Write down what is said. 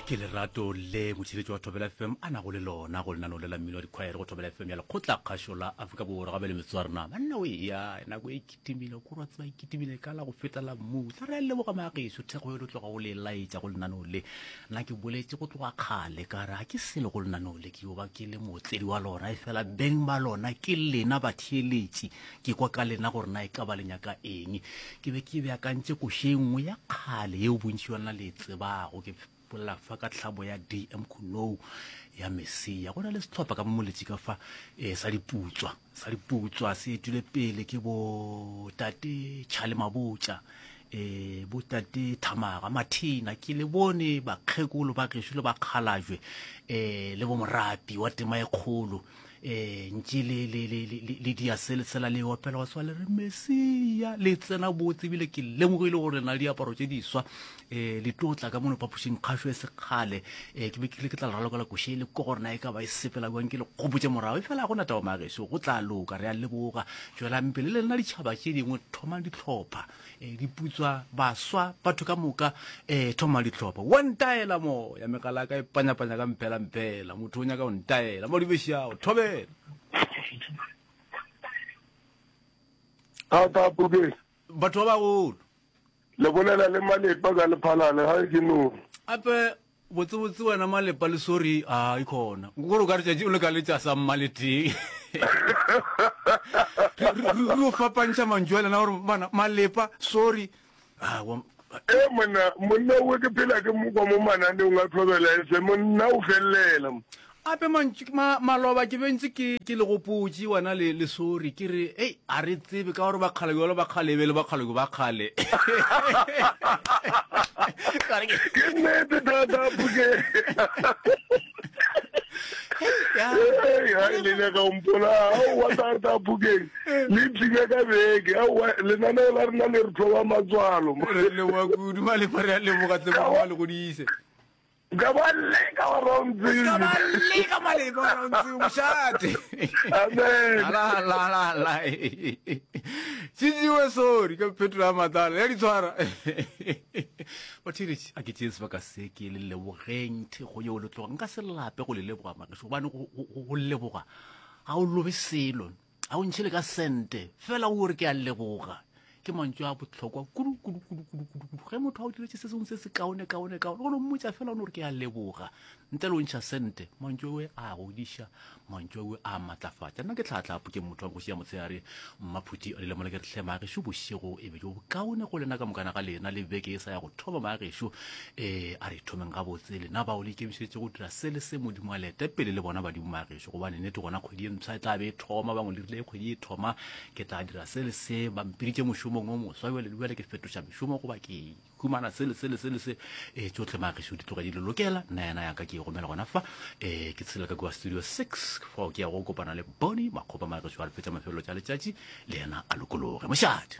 Ke lerato le motšheletši wa Thobela FM a nago le lona go lenaneo le la mmino wa dikhwaere go Thobela FM ya lekgotla kgašo la Afrika Borwa gabe le metsotso ya rena banna o eya nako e kitimile ko rwa tseba e kitimile ka la go feta la mmutla re a leboga maageso thekgo e le tloga o le laetša go lenaneo le nna ke boletše go tloga kgale ka re ga ke selo go lenaneo le ke yo ba ke le mootledi wa lona e fela beng ba lona ke lena batheeletši Ke kwa ka lena gore na e ka ba le nyaka eng. Ke be ke beakantše koša e nngwe ya kgale yeo bontši bja lena le e tsebago. Ke bolela fa ka tlhamo ya DM Khunou ya Mesia. Go na le sehlopha ka mo moletši ka fa eh, sa diputswa. Sa diputswa se etile pele ke bo tate Charlie Mabotja eh bo tate Thamaga Mathina ke le bone bakgekolo ba gešo le bakgalajwe eh le bo morapi wa tema e kgolo eh ntše le le le le le dia se le sela le opela wa swa le re mesia le tsena botse ebile ke lemogile gore na le diaparo tše diswa eh le tlo tla ka mono phapošing kgašo e sekgale eh ke be ke le ke tla le ralokela koše le ko gore na e ka ba e sepela jwang ke le gopotše morago e fela go na taba mageso go tla loka re a leboga tšwelang pele le lena ditšhaba tše dingwe thomang dihlopha eh, diputswa baswa batho ka moka um thoma dihlopha wa ntaela moya megala ka e panyapanya ka mphela mphela motho o nyaka o ntaela mo dibešago thobela Thata Puke. Batho ba bagolo. Le bolela le Malepa ka Lephalale ga ke no. Ape Botsebotse wena malepa le sorry a e khona gore o ka re tšatši o le ka letša sa mmaletee re o fapantšha mantšu a lena gore bana malepa sorry e monna monna o ke phela ke mo kwa mo mananeong a thobela efe monna o felelela Ape mantšu ma, maloba ke bentse ke ke le gopotše wena le le sorry ke re ei a re tsebe ka gore bakgale jalo bakgale e be le bakgale ba kgale. Ka re ke Ke nnete thata Phuke. Ya. Hey, ha le nyaka go mpola aowa thata Phukeng le tlile ka beke aowa lenaneo la rena le re thoba matswalo Re leboga kudu malepa re a leboga tle Modimo a le godise. Ka ba leka wa round Ka ba leka maleba wa round mošate. Amen. La la la la. Tšitsiwe sorry ka phetola ya matlalo ya di tshwara. Batheeletši a ke tšee sebaka se ke le lebogeng thekgo yeo le tloga nka se lape go le leboga magešo gobane go leboga ga o lobe selo. Ga o ntšhe le ka sente, fela o re ke a leboga. Ke mantšu a bohlokwa kudu kudu kudu kudu kudu kudu. Ge motho a o diretše se sengwe se se kaone kaone kaone, o no mmotša fela o no re ke a leboga. Ntle le o ntšha sente, mantšu awe a godiša, mantšu awe a matlafatša. Nna ke tlhatlhapo ke motho wa kgoši ya motshehare, Mmaphuti a lile mola ke re hle magešo bošego e be jo bokaone go lena ka mokana ga lena le beke e sa ya go thoma magešo. Eh a re thomeng gabotse lena bao le ikemišeditše go dira se le se Modimo a le ete pele le bona badimo magešo. Gobane nnete gona kgwedi ye mpsha e tla be e thoma, bangwe le rile kgwedi e thoma ke tla dira se le se, ba mpiditše mošomong o moswa bjale bjale ke fetoša mešomo goba ke humana se le se le se le se. E tšohle magešo di tloga di le lokela, nna yena ya ka ke e gomela gona fa. E ke tshela ka kua studio 6 fao ke ya go kopana le Bonnie Makgopa magešo a re fetša mafelelo tša letšatši le yena a lokologe. Mošate.